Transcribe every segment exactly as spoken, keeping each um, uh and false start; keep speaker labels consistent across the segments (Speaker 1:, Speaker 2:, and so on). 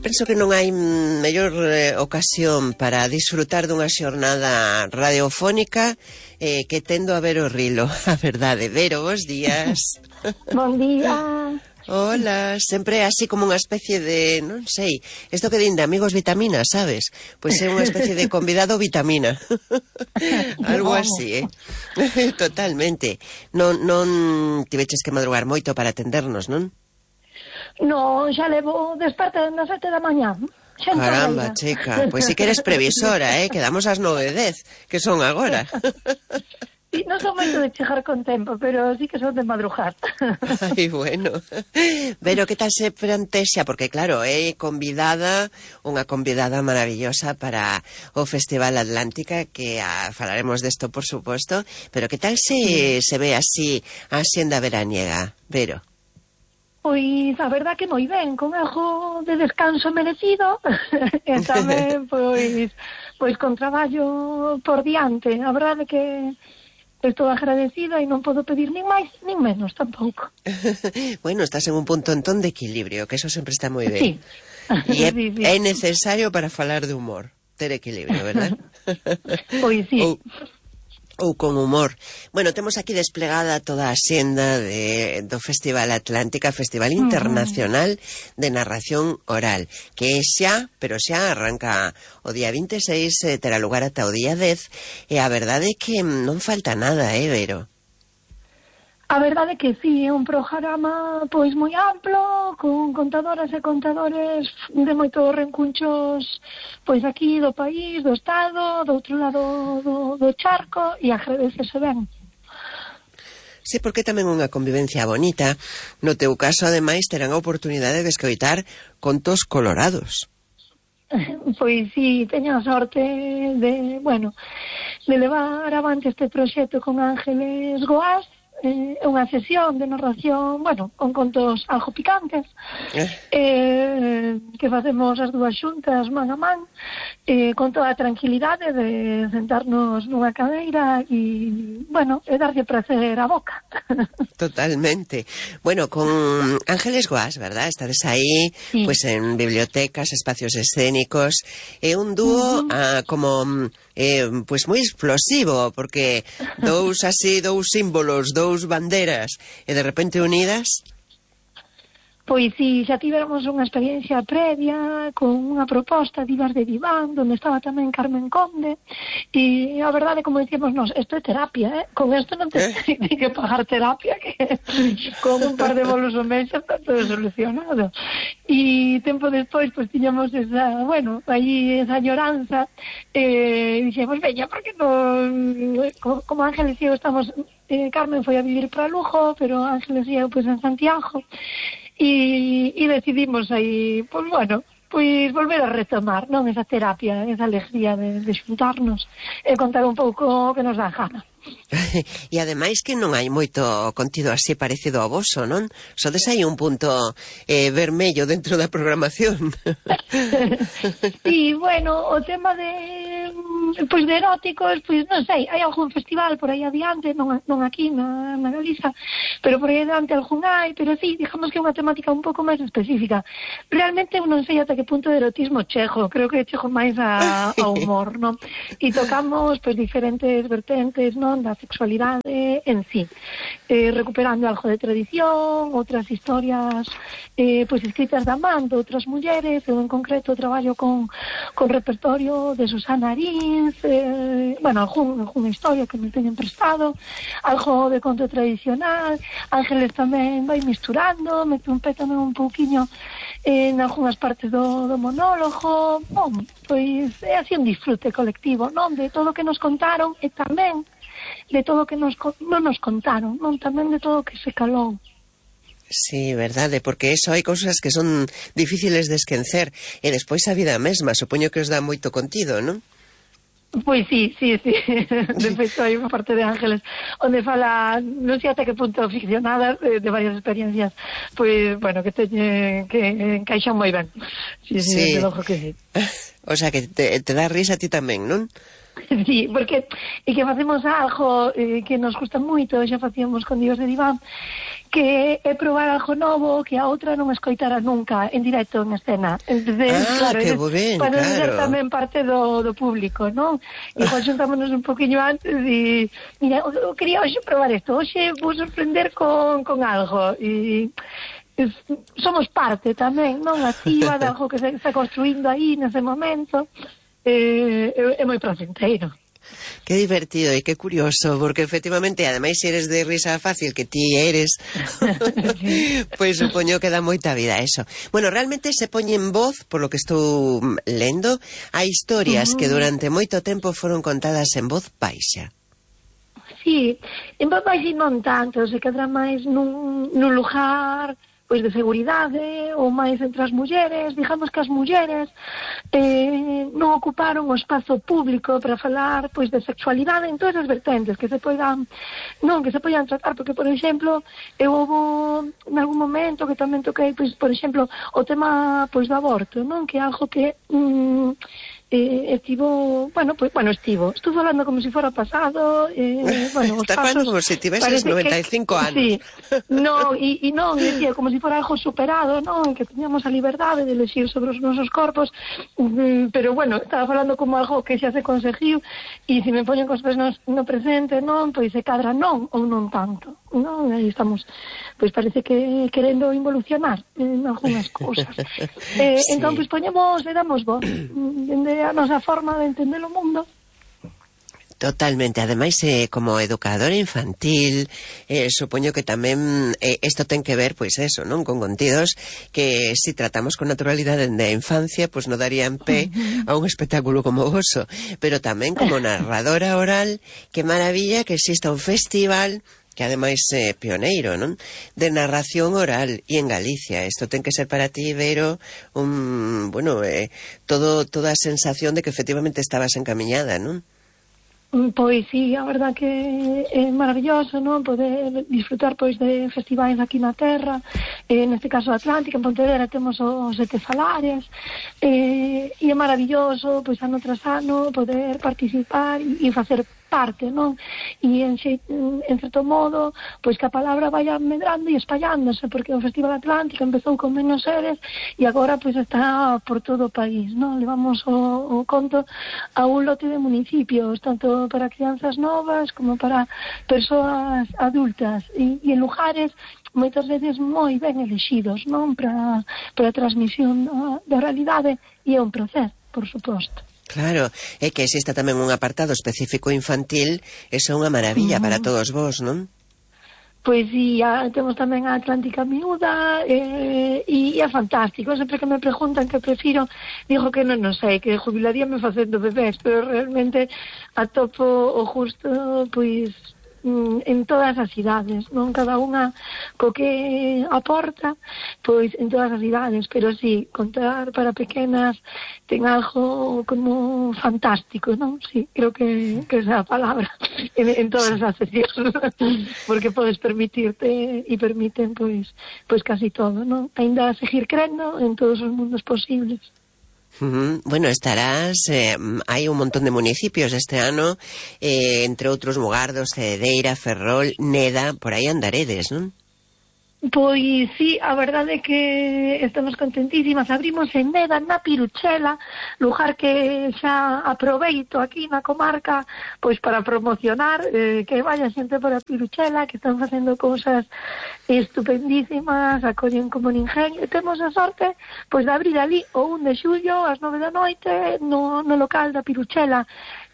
Speaker 1: Penso que non hai mellor eh, ocasión para disfrutar dunha xornada radiofónica eh, que tendo a ver o Rilo. A verdade, Vero, bons días.
Speaker 2: Bon día.
Speaker 1: Hola, sempre así como unha especie de, non sei, isto que din de amigos vitamina, sabes? Pois é unha especie de convidado vitamina. Algo así, eh? Totalmente. Non, non tiveches que madrugar moito para atendernos, non?
Speaker 2: No, xa levo desperta nas sete da mañá.
Speaker 1: Caramba, chica, pois si que eres previsora, eh? Quedamos ás nove e dez, que son agora.
Speaker 2: Sí, non son moito de chegar con tempo, pero sí que son de madrugar.
Speaker 1: Ai, bueno. Pero que tal se plantexa? Porque claro, é convidada, unha convidada maravillosa para o Festival Atlántica, que a, falaremos desto, por suposto, pero que tal se, se ve así a xenda veraniega, Vero?
Speaker 2: Pois a verdad que moi ben, con algo de descanso merecido, e tamén pois, pois con traballo por diante. A verdade que estou agradecida e non podo pedir nin máis nin menos tampouco.
Speaker 1: Bueno, estás en un punto entón de equilibrio, que eso sempre está moi ben.
Speaker 2: Sí.
Speaker 1: E é,
Speaker 2: sí, sí.
Speaker 1: é necesario para falar de humor, ter equilibrio, verdad?
Speaker 2: Pois sí.
Speaker 1: Ou, ou con humor. Bueno, temos aquí desplegada toda a xenda de, do Festival Atlántica, Festival Internacional de Narración Oral, que é xa, pero xa arranca o día vinte e seis, eh, terá lugar ata o día dez, e a verdade é que non falta nada, eh, Vero?
Speaker 2: A verdade é que sí, é un programa pois moi amplo, con contadoras e contadores de moitos rencunchos pois aquí do país, do estado, do outro lado do, do charco, e agradecese ben.
Speaker 1: Sí, porque tamén unha convivencia bonita. No teu caso, ademais, terán a oportunidade de escoitar contos colorados.
Speaker 2: Pois sí, teño a sorte de, bueno, de levar avante este proxecto con Ángeles Goás. É eh, unha sesión de narración, bueno, con contos algo picantes, eh. Eh, que facemos as dúas xuntas man a man, eh, con toda a tranquilidade de sentarnos nunha cadeira e, bueno, e darlle prazer a boca.
Speaker 1: Totalmente. Bueno, con Ángeles Goás, verdad? Estades aí, sí. Pues en bibliotecas, espacios escénicos, é un dúo uh -huh. ah, como... Eh, pues moi explosivo, porque dous así, dous símbolos, dous banderas, e de repente unidas.
Speaker 2: Pois si, xa tivéramos unha experiencia previa con unha proposta de Ibas de Diván, donde estaba tamén Carmen Conde, e a verdade, como dicíamos nos, isto é terapia, eh? Con isto non te eh? ten que pagar terapia, que con un par de bolos ao mes está todo solucionado. E tempo despois, pois tiñamos esa, bueno, aí esa lloranza, e dixemos, veña, porque non, como, como Ángeles e eu estamos, eh, Carmen foi a vivir para Lugo, pero Ángeles e eu, pois, en Santiago, E, e decidimos aí, pois bueno, pois volver a retomar, non, esa terapia, esa alegría de, de xuntarnos e contar un pouco o que nos dá gana.
Speaker 1: E ademais que non hai moito contido así parecido ao voso, non? Sodes aí un punto eh, vermello dentro da programación.
Speaker 2: Sí, bueno, o tema de pois de eróticos, pois non sei, hai algún festival por aí adiante, non, non aquí na, na Galiza, pero por aí adiante algún hai, pero sí, digamos que é unha temática un pouco máis específica. Realmente eu non sei ata que punto de erotismo chego, creo que chego máis a, a humor, non? E tocamos pois diferentes vertentes, non, da sexualidade en sí, eh, recuperando algo de tradición, outras historias eh, pois escritas da man de outras mulleres. Eu en concreto traballo con, con repertorio de Susana Arins, eh, bueno, algún, alguna historia que me teñen prestado, algo de conto tradicional. Ángeles tamén vai misturando, mete un pé tamén un pouquiño en algunhas partes do, do monólogo. Bom, pois é así un disfrute colectivo, non, de todo o que nos contaron e tamén de todo o que nos, non nos contaron, non, tamén de todo o que se calou.
Speaker 1: Sí, verdade, porque eso hai cousas que son difíciles de esquecer, e despois a vida mesma, supoño que os dá moito contido, non?
Speaker 2: Pois sí, sí, sí. De feito, hai unha parte de Ángeles onde fala, non sei até que punto ficcionadas, de, de varias experiencias, pois, bueno, que teñen, que encaixan moi ben. Sí, sí, sí. De logo que sí.
Speaker 1: O sea, que te, te dá risa a ti tamén, non?
Speaker 2: Sí, porque e que facemos algo eh, que nos gusta moito, xa facíamos con Dios de Diván, que é probar algo novo que a outra non escoitara nunca en directo, en escena. Entonces,
Speaker 1: ah,
Speaker 2: claro,
Speaker 1: que
Speaker 2: eres,
Speaker 1: ben,
Speaker 2: para
Speaker 1: claro.
Speaker 2: ser tamén parte do, do público, non? Igual xuntámonos un poquinho antes e, mira, eu quería hoxe probar isto, hoxe vou sorprender con, con algo e es, somos parte tamén, non? Activa de algo que se está construindo aí nese momento. Eh, é, é moi placenteiro.
Speaker 1: Qué divertido e qué curioso, porque efectivamente, ademais, se eres de risa fácil, que ti eres, sí. Pois supoño que dá moita vida eso. Bueno, realmente se poñe en voz, por lo que estou lendo, a historias uh-huh. que durante moito tempo foron contadas en voz baixa.
Speaker 2: Sí, en voz baixa non tanto, se quedará máis nun, nun lugar pois de seguridade ou máis entre as mulleres. Digamos que as mulleres eh, non ocuparon o espazo público para falar pois de sexualidade en todas as vertentes que se poidan non, que se poidan tratar, porque por exemplo eu houve en algún momento que tamén toquei pois por exemplo o tema pois do aborto, non, que é algo que mm, Eh, estivo, bueno, pues, bueno, estivo, estuve falando como si fuera pasado, eh, bueno,
Speaker 1: está falando como si tiveses noventa e cinco anos.
Speaker 2: Sí, no, e, e non, e decía, como si fuera algo superado, non, que teníamos a liberdade de elegir sobre os nosos corpos, um, pero bueno, estaba falando como algo que xa se conseguiu, e se me poñen cos pés no, no presente, non, pois se cadra non, ou non tanto, non, aí estamos, pois parece que querendo involucionar en algunhas cousas. eh, sí. Entón, pois poñemos, le damos voz, dende a nosa forma de entender o mundo.
Speaker 1: Totalmente, ademais eh, como educadora infantil eh, supoño que tamén eh, isto ten que ver, pois eso, non, con contidos que si tratamos con naturalidade da infancia, pois non darían pé a un espectáculo como voso, pero tamén como narradora oral, que maravilla que exista un festival que ademais é eh, pioneiro, non? De narración oral e en Galicia. Isto ten que ser para ti, Vero, un, bueno, eh, todo toda a sensación de que efectivamente estabas encamiñada, non?
Speaker 2: Pois sí, a verdad que é maravilloso, non, poder disfrutar pois de festivais aquí na terra, eh, neste caso Atlántica, en Pontevedra temos os Sete Salares, eh, e é maravilloso, pois ano tras ano, poder participar e, e facer parte, non? E en, en certo modo, pois que a palabra vaya medrando e espallándose, porque o Festival Atlántica empezou con menos seres e agora pois está por todo o país, non? Levamos o, o conto a un lote de municipios, tanto para crianzas novas como para persoas adultas e, e en lugares moitas veces moi ben elexidos, non? Para, para a transmisión da, da realidade, e é un placer, por suposto.
Speaker 1: Claro, é que exista tamén un apartado específico infantil, eso é unha maravilla uh-huh. para todos vos, non?
Speaker 2: Pois sí, a, temos tamén a Atlántica Miúda eh, e, e é fantástico. Sempre que me preguntan que prefiro, digo que non, non sei, que jubilaríame facendo bebés, pero realmente atopo o justo, pois, en todas as idades, non? Cada unha co que aporta, pois en todas as idades, pero sí, contar para pequenas ten algo como fantástico, non? Sí, creo que, que esa é a palabra en, en todas as sesións, porque podes permitirte e permiten pois pois casi todo, non? Ainda seguir crendo en todos os mundos posibles.
Speaker 1: Uh-huh. Bueno, estarás, eh, hai un montón de municipios este ano, eh, entre outros Mugardos, Cedeira, Ferrol, Neda, por aí andaredes, non?
Speaker 2: Pois sí, a verdade é que estamos contentísimas. Abrimos en Neda, na Piruchela, lugar que xa aproveito aquí na comarca pois para promocionar eh, que vaya xente por a Piruchela, que están facendo cousas estupendísimas, acollen como ninguén, e temos a sorte pois de abrir ali o un de xullo ás nove da noite no, no local da Piruchela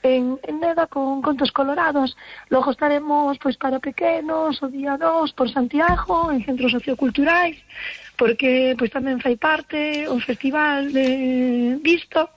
Speaker 2: en, en Neda con contos colorados. Logo estaremos pois para pequenos o día dos por Santiago en centros socioculturais, porque pois tamén fai parte o festival de Visto.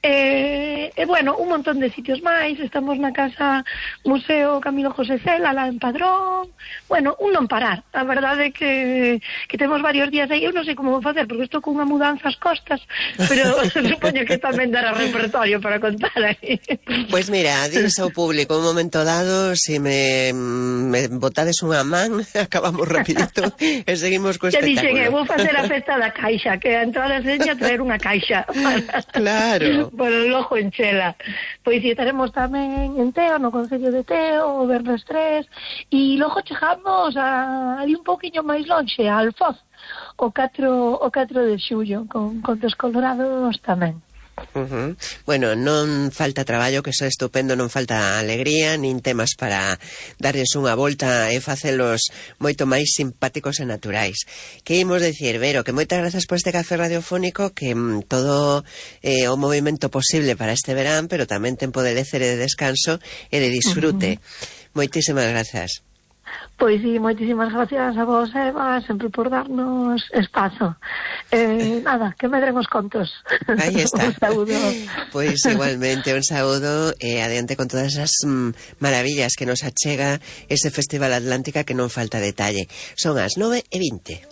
Speaker 2: E, e bueno, un montón de sitios máis. Estamos na Casa Museo Camilo José Cela, lá en Padrón. Bueno, un non parar. A verdade é que, que temos varios días aí. Eu non sei como vou facer, porque estou con unha mudanza ás costas, pero supoño que tamén dará repertorio para contar aí.
Speaker 1: Pois pues mira, diles ao público un momento dado, se si me, me botades unha man, acabamos rapidito e seguimos co espectáculo.
Speaker 2: Xa dixen, vou facer a festa da caixa, que a entrada seña traer unha caixa.
Speaker 1: Claro.
Speaker 2: Bueno, logo en Chela. Pois si estaremos tamén en Teo, no Concello de Teo, o Vernes tres, e logo chegamos a, ali un poquinho máis lonxe, a Alfoz, o catro, o catro de xullo, con Contos Colorados tamén.
Speaker 1: Uh-huh. Bueno, non falta traballo, que iso é estupendo, non falta alegría nin temas para darles unha volta e facelos moito máis simpáticos e naturais. Que imos dicir, Vero, que moitas grazas por este café radiofónico, que mm, todo eh, o movimento posible para este verán, pero tamén tempo de lecer e de descanso e de disfrute. Uh-huh. Moitísimas grazas.
Speaker 2: Pois sí, moitísimas gracias a vos, Eva, sempre por darnos espazo. Eh, nada, que medren os contos.
Speaker 1: Aí está.
Speaker 2: Un saúdo.
Speaker 1: Pois igualmente, un saúdo e eh, adiante con todas as mm, maravillas que nos achega ese Festival Atlántica, que non falta detalle. Son as nove e vinte.